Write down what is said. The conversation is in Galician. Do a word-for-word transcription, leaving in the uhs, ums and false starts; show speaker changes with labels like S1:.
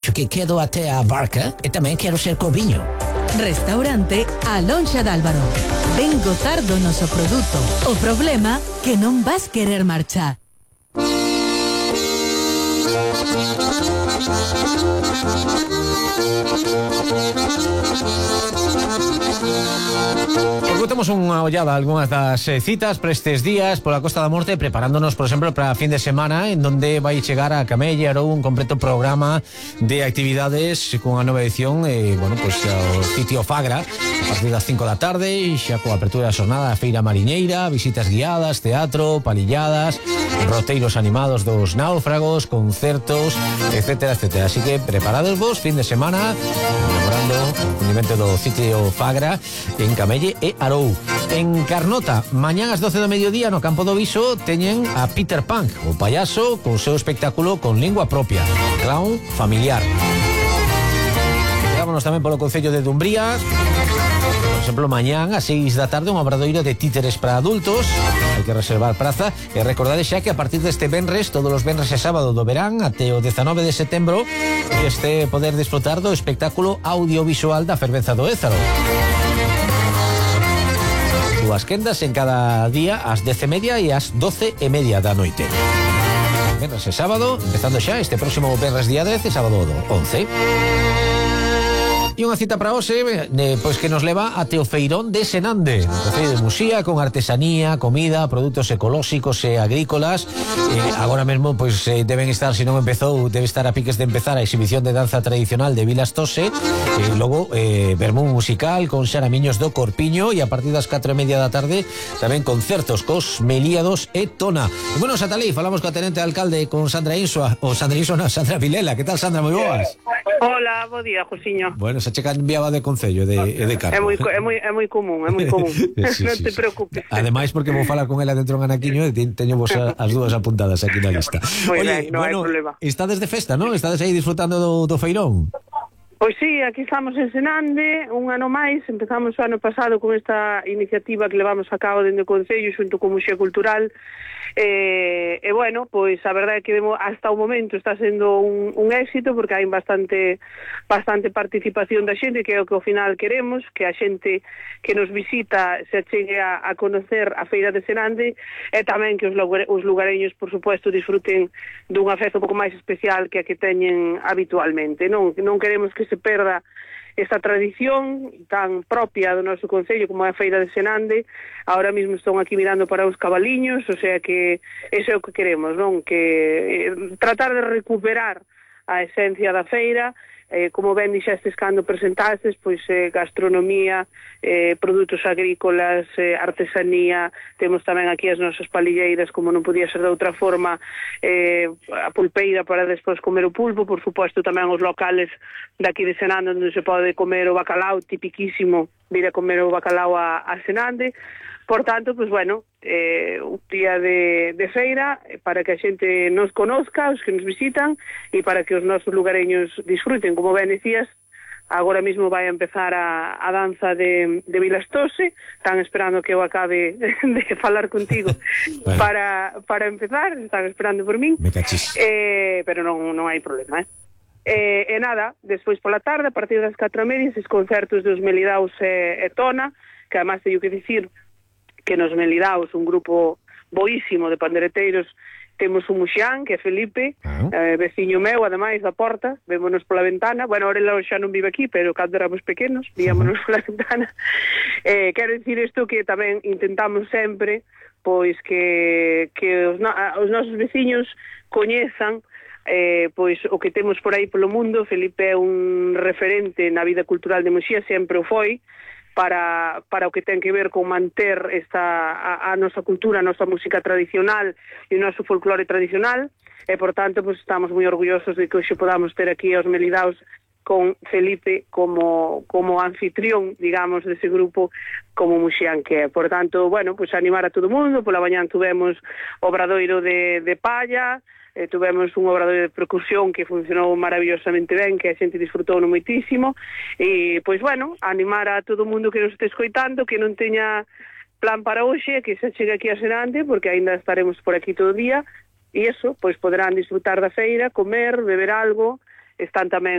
S1: que quedo até a barca e tamén quero ser coviño.
S2: Restaurante A Lonxa de Álvaro. Ven gozar do noso produto. O problema que non vas querer marchar.
S3: Pois botemos unha ollada a algunhas das eh, citas para estes días pola Costa da Morte, preparándonos, por exemplo, para fin de semana, en donde vai chegar a Camelle Arou un completo programa de actividades con a nova edición, eh, bueno, pois o sitio Fagra, a partir das cinco da tarde, xa coa apertura da xornada da Feira Mariñeira, visitas guiadas, teatro, palilladas, roteiros animados dos náufragos, concertos, etcétera, etcétera. Así que preparados vos, fin de semana, memorando o fundimento do sitio Fagra en Camelle e Arou. En Carnota, mañán ás doce do mediodía no Campo do Viso teñen a Peter Pan, o payaso con seu espectáculo con lingua propia, clown familiar. Vámonos tamén polo Concello de Dumbría. Por exemplo, mañán ás seis da tarde un obradoiro de títeres para adultos. Hai que reservar praza. E recordade xa que a partir deste venres, todos os venres e sábado do verán até o dezanove de setembro, este poder disfrutar do espectáculo audiovisual da Fervenza do Ézaro. Dúas quendas en cada día ás dez e media e ás doce e media da noite. Venres e sábado, empezando xa este próximo venres día dez e sábado once. E unha cita para hoxe, eh, pois que nos leva até o feirón de Senande, no Concello de Muxía, con artesanía, comida, produtos ecolóxicos e agrícolas. Eh, agora mesmo pois eh, deben estar, se non empezou, debe estar a piques de empezar a exhibición de danza tradicional de Vilas Tose, e eh, logo eh, vermún musical con xaramiños do Corpiño, e a partir das catro e media da tarde tamén concertos cos Melíados e Tona. E bueno, Satalí, falamos coa tenente alcalde, con Sandra Insua, ou Sandra Insua, no, Sandra Vilela. Que tal, Sandra? Moi boas.
S4: Hola, bo día, Josiño.
S3: Bueno, se che cambiaba de concello de, de cargo.
S4: É moi, é moi, é moi común, é moi común.
S3: Sí,
S4: non
S3: sí,
S4: te
S3: sí.
S4: preocupes.
S3: Ademais, porque vou falar con ela dentro de un anaquiño e teño vos a, as dúas apuntadas aquí na lista.
S4: Moi
S3: Oye,
S4: ben, non
S3: bueno,
S4: hai problema.
S3: estades de festa, non? Estades aí disfrutando do, do feirón?
S4: Pois sí, aquí estamos en Senande, un ano máis, empezamos o ano pasado con esta iniciativa que levamos a cabo dentro do Concello xunto con Muxía Cultural. E, e bueno, pois a verdade é que hasta o momento está sendo un, un éxito, porque hai bastante bastante participación da xente, que é o que ao final queremos, que a xente que nos visita se chegue a, a conocer a Feira de Senande, e tamén que os, os lugareños, por supuesto, disfruten dunha festa un pouco máis especial que a que teñen habitualmente. Non, non queremos que se perda esta tradición tan propia do noso concello como é a Feira de Senande. Ahora mismo están aquí mirando para os cabaliños, o sea que eso é o que queremos, non? Que eh, tratar de recuperar a esencia da feira, eh, como ben dixestes cando presentastes, pois eh, gastronomía, eh, produtos agrícolas, eh, artesanía, temos tamén aquí as nosas palilleiras, como non podía ser de outra forma, eh, a pulpeira para despois comer o pulpo, por suposto tamén os locales daqui de Senande, onde se pode comer o bacalao, tipiquísimo, vir a comer o bacalao a, a Senande. Por tanto, pues bueno, eh, un día de, de feira para que a xente nos conozca, os que nos visitan, e para que os nosos lugareños disfruten. Como ben decías, agora mesmo vai a empezar a, a danza de, de Vilas Tose. Están esperando que eu acabe de falar contigo bueno. para, para empezar, están esperando por min.
S3: Me cachis.
S4: Eh, pero non, non hai problema, eh? E, e nada, despois pola tarde, a partir das catro e media, esses concertos dos Melidaos e, e Tona, que además teño que dicir que nos Melidaos, un grupo boísimo de pandereteiros, temos un muxián, que é Felipe, uh-huh. eh, veciño meu, ademais, da porta, vémonos pola ventana. Bueno, ahora ele xa non vive aquí, pero cando éramos pequenos, víamonos uh-huh. pola ventana. Eh, quero dicir isto, que tamén intentamos sempre, pois, que, que os, no, os nosos veciños coñezan eh, pois o que temos por aí polo mundo. Felipe é un referente na vida cultural de Muxía, sempre o foi, para, para o que ten que ver con manter esta, a, a nosa cultura, a nosa música tradicional e o noso folclore tradicional, e, por tanto, pues, estamos moi orgullosos de que hoxe podamos ter aquí aos Melidaos con Felipe como, como anfitrión, digamos, dese grupo como muxián que é. Por tanto, bueno, pues animar a todo o mundo. Pola mañán tuvemos obradoiro de, de palla, eh, tuvemos un obradoiro de percusión que funcionou maravillosamente ben, que a xente disfrutou no moitísimo, e, pois, bueno, animar a todo o mundo que nos este escoitando, que non teña plan para hoxe, que se chegue aquí a Senande, porque aínda estaremos por aquí todo o día, e iso, pois, poderán disfrutar da feira, comer, beber algo, están tamén